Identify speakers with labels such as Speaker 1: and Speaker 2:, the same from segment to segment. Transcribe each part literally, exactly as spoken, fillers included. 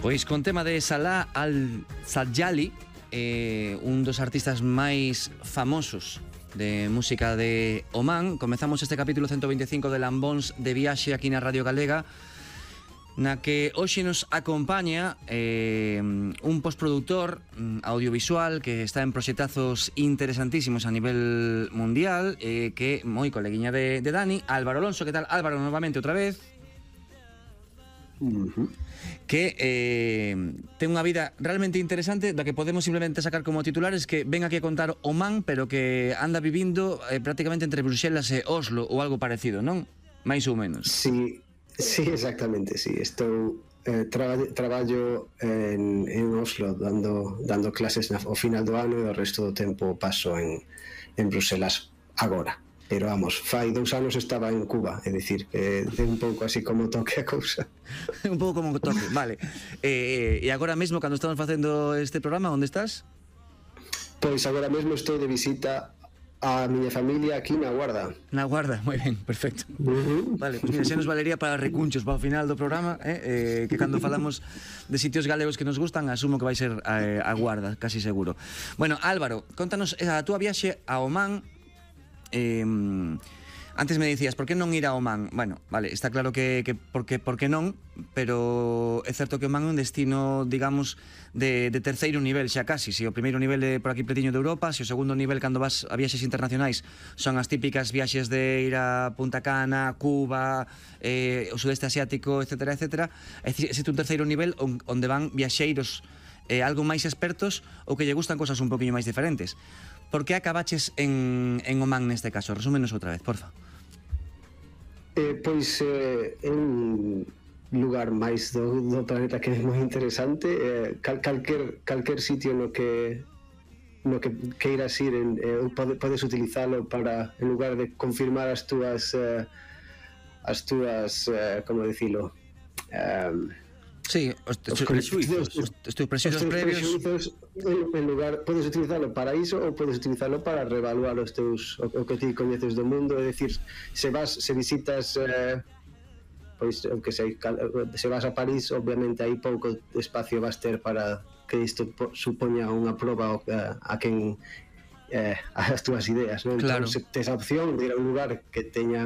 Speaker 1: Pois con tema de Salah Al-Sajjali, eh, un dos artistas máis famosos de música de Oman. Comezamos este capítulo ciento veinticinco de Lambóns de Viaxe aquí na Radio Galega, na que hoxe nos acompaña eh, un postproductor audiovisual que está en proxectazos interesantísimos a nivel mundial, eh, que é moi coleguiña de, de Dani, Álvaro Alonso. Que tal, Álvaro, novamente outra vez?
Speaker 2: Uh-huh.
Speaker 1: Que eh, ten unha vida realmente interesante, da que podemos simplemente sacar como titulares que ven aquí a contar Oman, pero que anda vivindo eh, prácticamente entre Bruxelas e Oslo ou algo parecido, non? Mais ou menos.
Speaker 2: Sí, sí, exactamente, sí. Estou eh, traba, traballo en, en Oslo dando, dando clases na, ao final do ano, e o resto do tempo paso en, en Bruxelas agora. Pero vamos, fai dous anos estaba en Cuba, é dicir, que é un pouco así como toque a cousa.
Speaker 1: Un pouco como toque, vale. Eh, e agora mesmo, cando estamos facendo este programa, onde estás?
Speaker 2: Pois agora mesmo estou de visita a miña familia aquí na Guarda.
Speaker 1: Na Guarda, moi ben, perfecto.
Speaker 2: Uh-huh.
Speaker 1: Vale, pois mira, xa nos valería para recunchos para o final do programa, eh, eh, que cando falamos de sitios galegos que nos gustan, asumo que vai ser a, a Guarda, casi seguro. Bueno, Álvaro, contanos a túa viaxe a Oman. Eh, antes me dicías, por que non ir a Oman? Bueno, vale, está claro que, que porque, porque non, pero é certo que Oman é un destino, digamos, de, de terceiro nivel xa casi. Se o primeiro nivel é por aquí pletiño de Europa, se o segundo nivel cando vas a viaxes internacionais son as típicas viaxes de ir a Punta Cana, Cuba, eh, o sudeste asiático, etcétera, etcétera. É dicir, existe un terceiro nivel onde van viaxeiros eh, algo máis expertos ou que lle gustan cosas un poquinho máis diferentes. Por que acabaches en, en Oman neste caso? Resúmenos outra vez, porfa.
Speaker 2: Eh, pois eh, é un lugar máis do, do planeta que é moi interesante. Eh, cal, calquer, calquer sitio no que no que queiras ir en, eh, pode, podes utilizalo para, en lugar de confirmar as túas eh, as túas, eh, como dicilo, um,
Speaker 1: sí, os, os, os prejuicios, os, os teus prejuicios previos.
Speaker 2: En lugar, podes utilizarlo para iso ou podes utilizarlo para reevaluar os teus, o, o que ti coñeces do mundo. É dicir, se vas, se visitas eh, pois, o que sei, se vas a París, obviamente aí pouco espacio vas ter para que isto supoña unha proba a, a quen eh, as túas ideas, non?
Speaker 1: Claro.
Speaker 2: Entón, se tes a opción de ir a un lugar que teña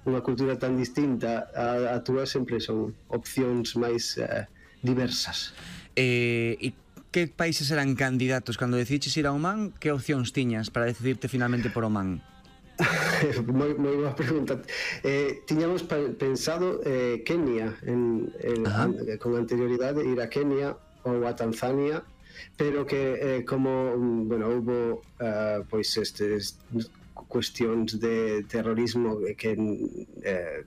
Speaker 2: unha cultura tan distinta a, a túa, sempre son opcións máis eh, diversas.
Speaker 1: Eh, e que países eran candidatos cando decidiches ir a Oman? Que opcións tiñas para decidirte finalmente por Oman?
Speaker 2: moi, moi boa pregunta. Eh, tiñamos pensado eh, Kenia en, en, an, con anterioridade, ir a Kenia ou a Tanzania, pero que eh, como bueno, houbo uh, pois estes cuestións de terrorismo que eh,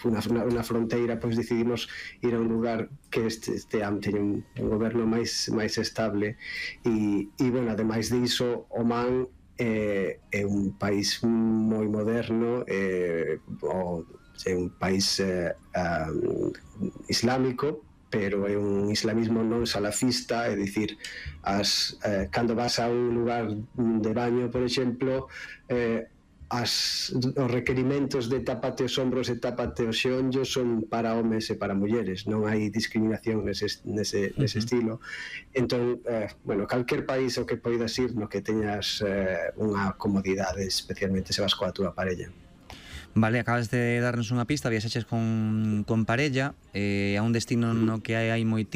Speaker 2: unha, unha fronteira, pois decidimos ir a un lugar que este, este teña un, un goberno máis máis estable, e, e bueno, ademais diso, Oman eh, é un país moi moderno, eh, o, é un país eh, um, islámico, pero é un islamismo non salafista, é dicir, as, eh, cando vas a un lugar de baño, por exemplo, eh, as, os requerimentos de tápate os ombros e tápate os xeonllos son para homes e para mulleres, non hai discriminación nese, nese, nese uh-huh. estilo. Entón, eh, bueno, calquer país o que poidas ir no que teñas eh, unha comodidade, especialmente se vas coa túa parella.
Speaker 1: Vale, acabas de darnos unha pista, viaxeches con, con parella eh, a un destino no que hai, hai moitísimo